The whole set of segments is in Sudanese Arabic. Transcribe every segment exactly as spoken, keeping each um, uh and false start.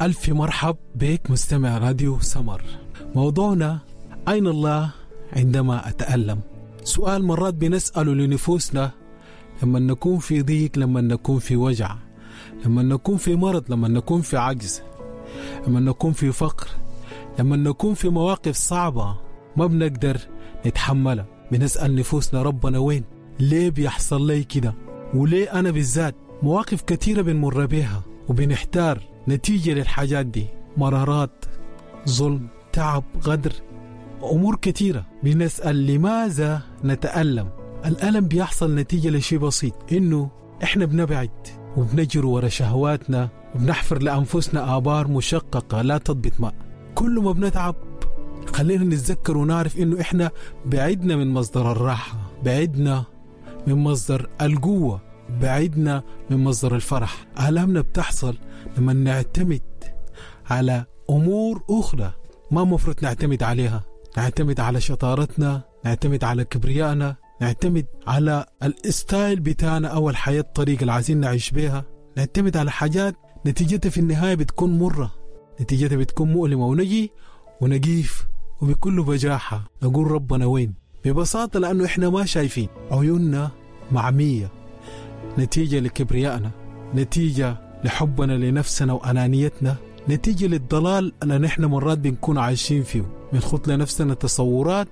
ألف مرحب بك مستمع راديو سمر. موضوعنا أين الله عندما أتألم؟ سؤال مرات بنسأله لنفوسنا لما نكون في ضيق، لما نكون في وجع، لما نكون في مرض، لما نكون في عجز، لما نكون في فقر، لما نكون في مواقف صعبة ما بنقدر نتحملها. بنسأل نفوسنا ربنا وين؟ ليه بيحصل لي كده؟ وليه أنا بالذات؟ مواقف كثيرة بنمر بيها وبنحتار نتيجة للحاجات دي، مرارات، ظلم، تعب، غدر، أمور كثيرة. بنسأل لماذا نتألم؟ الألم بيحصل نتيجة لشيء بسيط، إنه إحنا بنبعد وبنجر ورا شهواتنا وبنحفر لأنفسنا آبار مشققة لا تضبط ماء. كل ما بنتعب خلينا نتذكر ونعرف إنه إحنا بعدنا من مصدر الراحة، بعدنا من مصدر القوة، بعدنا من مصدر الفرح. آلامنا بتحصل لما نعتمد على أمور أخرى ما مفروض نعتمد عليها، نعتمد على شطارتنا، نعتمد على كبريائنا، نعتمد على الستايل بتاعنا أو الحياة الطريقة اللي عايزين نعيش بيها، نعتمد على حاجات نتيجتها في النهاية بتكون مرة، نتيجتها بتكون مؤلمة، ونجي ونقيف وبكل بجاحة نقول ربنا وين؟ ببساطة لأنه إحنا ما شايفين، عيوننا معمية نتيجة لكبريائنا، نتيجة لحبنا لنفسنا وأنانيتنا، نتيجة للضلال اللي نحن مرات بنكون عايشين فيه. بنخط لنفسنا تصورات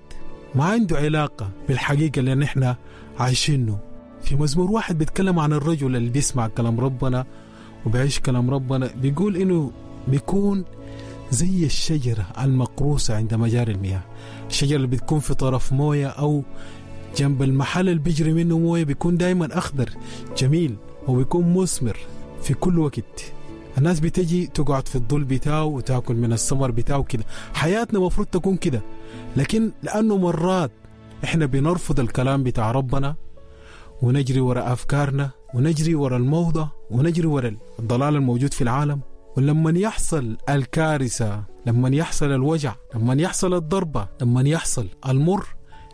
ما عنده علاقة بالحقيقة اللي نحن عايشينه. في مزمور واحد بيتكلم عن الرجل اللي بيسمع كلام ربنا وبيعيش كلام ربنا، بيقول إنه بيكون زي الشجرة المقروسة عند مجاري المياه. الشجرة اللي بتكون في طرف موية أو جنب المحل اللي بيجري منه موية بيكون دايما أخضر جميل وبيكون مثمر في كل وقت. الناس بتجي تقعد في الظل بتاعه وتاكل من الثمر بتاعه كده. حياتنا مفروض تكون كده، لكن لأنه مرات إحنا بنرفض الكلام بتاع ربنا ونجري وراء أفكارنا ونجري وراء الموضة ونجري وراء الضلال الموجود في العالم. ولما يحصل الكارثة، لما يحصل الوجع، لما يحصل الضربة، لما يحصل المر،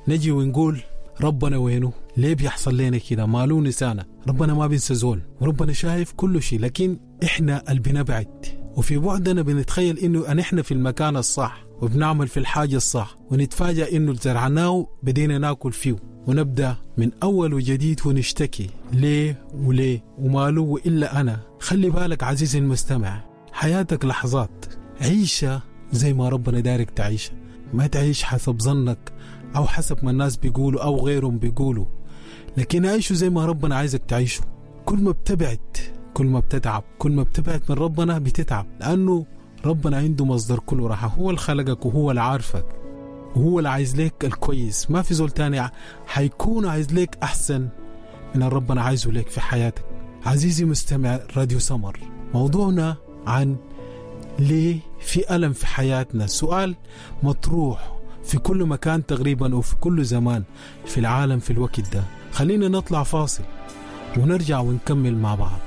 نجي ونقول ربنا وينه؟ ليه بيحصل لنا كده؟ مالو نسانا؟ ربنا ما بينسى زول، وربنا شايف كل شيء، لكن إحنا اللي بنبعد، وفي بعدنا بنتخيل إنه نحن في المكان الصح وبنعمل في الحاجة الصح، ونتفاجأ إنه زرعناه بدينا ناكل فيه، ونبدأ من أول وجديد ونشتكي ليه وليه وماله وإلا أنا. خلي بالك عزيزي المستمع، حياتك لحظات، عيشة زي ما ربنا دارك تعيشها، ما تعيش حسب ظنك أو حسب ما الناس بيقولوا أو غيرهم بيقولوا، لكن عيشه زي ما ربنا عايزك تعيشه. كل ما بتبعد كل ما بتتعب، كل ما بتبعد من ربنا بتتعب، لأنه ربنا عنده مصدر كل راحة، هو اللي خلقك وهو اللي عارفك وهو اللي عايز لك الكويس. ما في زول تاني حيكون عايز لك أحسن من ربنا عايزه لك في حياتك. عزيزي مستمع راديو سمر، موضوعنا عن ليه في ألم في حياتنا، سؤال مطروح في كل مكان تقريبا وفي كل زمان في العالم في الوقت ده. خلينا نطلع فاصل ونرجع ونكمل مع بعض.